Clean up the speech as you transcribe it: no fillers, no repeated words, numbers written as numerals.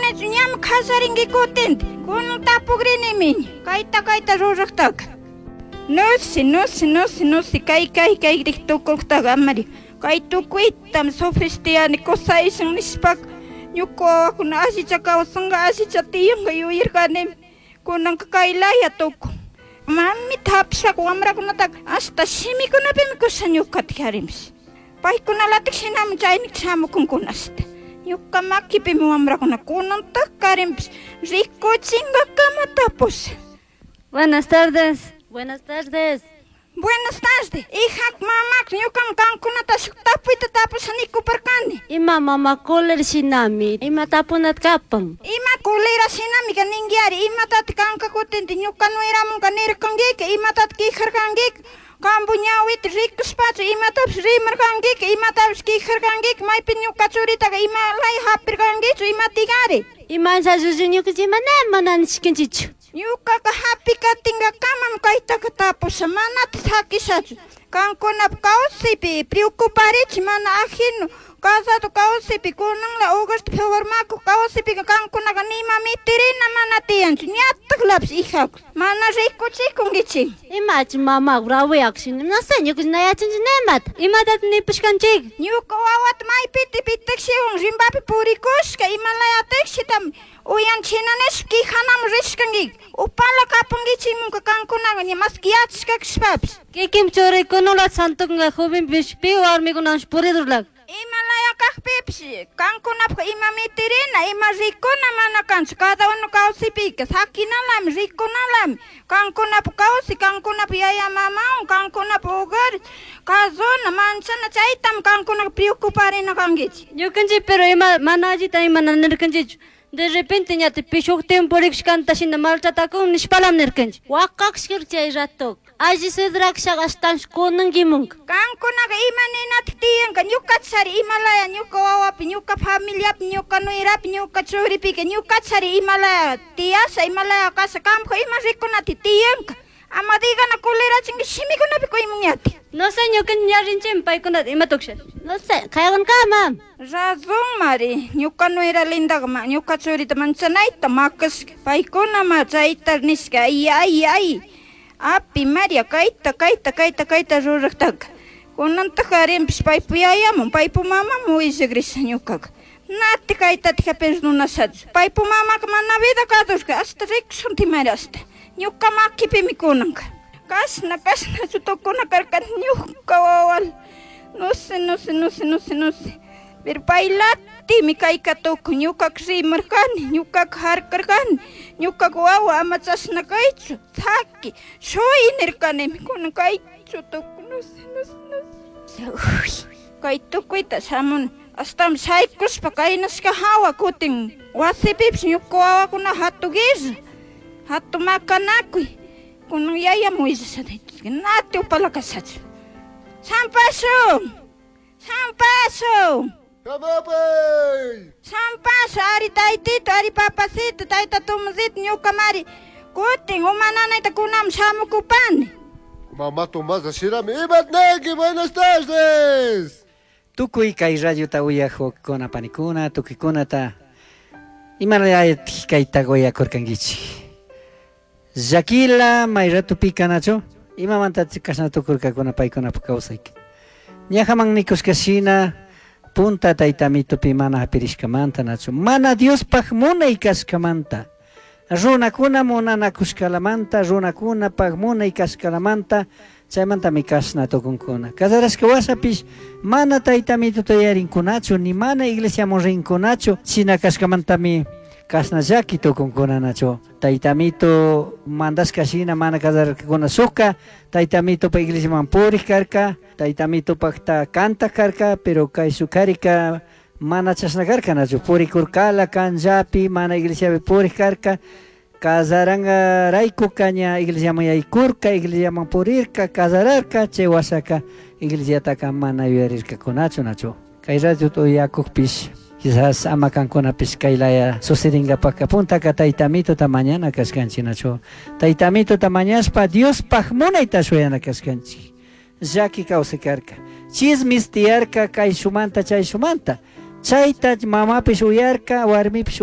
nirkanichu, ñami kasarinki kutinta. Kunan tapukrinimi kayta kayta rurajtaka. No sé, no sé, no sé, no sé, kay kay kay tukuktaqa amari. Kay tukuytam sufrishtiani kusayshun nishpaka ñuka wawakuna allicha kawsanka allicha tiyanka yuyarkanimi. Kunanka kay laya tukun. Mamita hapishpaka wamrakunataka hasta shimikunapimi kusha ñukata karinpish. Paykunalatik shinami chaynikta shamukunkuna ashta. Ñuka makipimi wamrakuna kunantak karinpish rikuchinkakama tapusha. Buenas tardes. Buenas tardes. Buenas tardes. Hija, mamá, ñukam kankunata shuk tapuyta tapusha nikuparkani. Ima mama cólera shinami. Ima tapunat kapan. Ima cólera shinami ka ninkiari. Imatati kanka kutinti ñuka nueramunka nirkankika. Imatati quejarkankika. Kampu ñawita rikushpachu imatapish rimarkankika. Imatapish quejarkankika. Maypi ñuka churitaka ima laya hapirkankichu imatikari. Imancha llullu ñukanchik ima mana nishkanchichu. Ñukaka hapikatinkakamam kaytaka tapusha manata sakishachu. Kankunapa kawsaypi preocuparichi mana ajeno casado kawsaypi kunanla hogarta formakuq kawsaypika kankunaka nima mitirina mana tiyanchu ñataklapish hijaku mana rikuchikunkichik. Imachi mama bravuyakushina no sé ñukanchik na yachanchik nimata. Imatata nipashkanchik. Ñuka wawata maypita pitakshiwan rimbapi purikushka imalaya tikshitam uyanchina nishpa quejanaman rishkanki. Upala kapankichikmunka kankunaqa ña maski yachashka kashpapish. Kikin churikunula santukunka jovenpish pi warmikunawanshi puridurlak. Imalaya kajpipish kankunapaq ima mitirina ima rikuna mana kanchu cada uno kawsaypika sakinalami rikunalami kankunapa kawsay kankunapa yaya mamawan kankunapa hogar kazuna manchana chaytam kankunaka preocuparina kankichik. Ñukanchik pero ima mana allita ima mana nirkanchichu. De repente ñati pi shuk tiempo purikushkanta shina maltratakun nishpalam nirkanchik. Wakakshkir chay rato. Alli sidrakshaka ashtansh kunankimunka. Kankunaka ima ninatik tiyanka ñukachari imalaya ñuka wawapi ñuka familiapi ñuka nuerapi ñuka churipika ñukachari imalaya tiyasha imalaya kasha kampa ima rikunati tiyanka. Ama digana culerachinki shimikunapi kuymuñati. No sé ñukanchik ñarinchik paykunata ima tuksha. No sé, kaykunkama. Razón mari, ñuka nuera lindaqa ñuka churita manchanayta makashka. Paykuna ma chayta nishka ay ay ay. Api Maria kayta kayta kayta kayta ruraqtaka. Kunantaq karinpish paypu yayamun paypu mamamun willakrisha ñukaka. Nati kaytatika perdonashachu. Paypu mamaka mana vida kadushka hasta rikushunti Maria hasta. Ñuka makipimi kunanka. Kashna kashnachu tukuna karka ñuka wawal. No sé, no sé, no sé, no sé, no sé. Pero paylatimi kayka tukun ñukaka rimarkani, ñukaka harkarkani, ñukaka wawa ama chashna kaychu, saki, shuy nirkanimi, kunan kaychu tukun, no sé, no sé, no sé. Uy, kay tukuyta shamuni, ashtawan shaykushpa kaynashka hawa kutin wasipipish ñuka wawakuna hatu guerra, hatu makanakuy, kunan yayamun willasha nati upala kashachu. Sampaso! Sampaso! ¡Samapay! Sampaso, ari taytito, ari papacito, tayta Tomasito, ñuka mari. Kutin, uma nanayta kunam shamukupani. Mamá Tomasa Shirami, Imatneki, buenas tardes. Tukuy kay radiota uyajukuna panikuna, tukuykunata imalayatij kayta uyakurkankichik. Llakila may ratupika nachu imamanta kashna tukurkakuna paykunapa kawsayka. Ñajaman nikushka shina punta tayta mitupi mana hapirishkamanta nachu mana Diospaj munay kashkamanta runakuna munanakushkalamanta runakunapaj munay kashkalamanta chaymantami kashna tukunkuna. Casarashka washapish mana tayta mituta yarinkunachu ni mana iglesiaman rinkunachu shina kashkamantami kashna llaki tukunkuna nachu. Tayta mitu mandashka shina mana casararkakuna shuka tayta mitupa iglesiaman purik karka tayta mitupakta kantak karka pero kay shukarika mana chashna karka nachu purikurkala kanllapi mana iglesiapi purik karka casarangarayku ña iglesiaman yaykurka iglesiaman purirka casararka chay washaka iglesiataka mana yuyarirkakunachu nachu. Kay radiota uyakukpish quizás ama kankunapish kay laya sucedingapaka puntaka tayta mituta mañana kashkanchik nachu. Tayta mituta mañashpa Diospaj munayta shuyana kashkanchik. Llaki kawsay karka. Chismis tiyarka kay shumanta chay shumanta. Chayta mamapish uyarka, warmipish.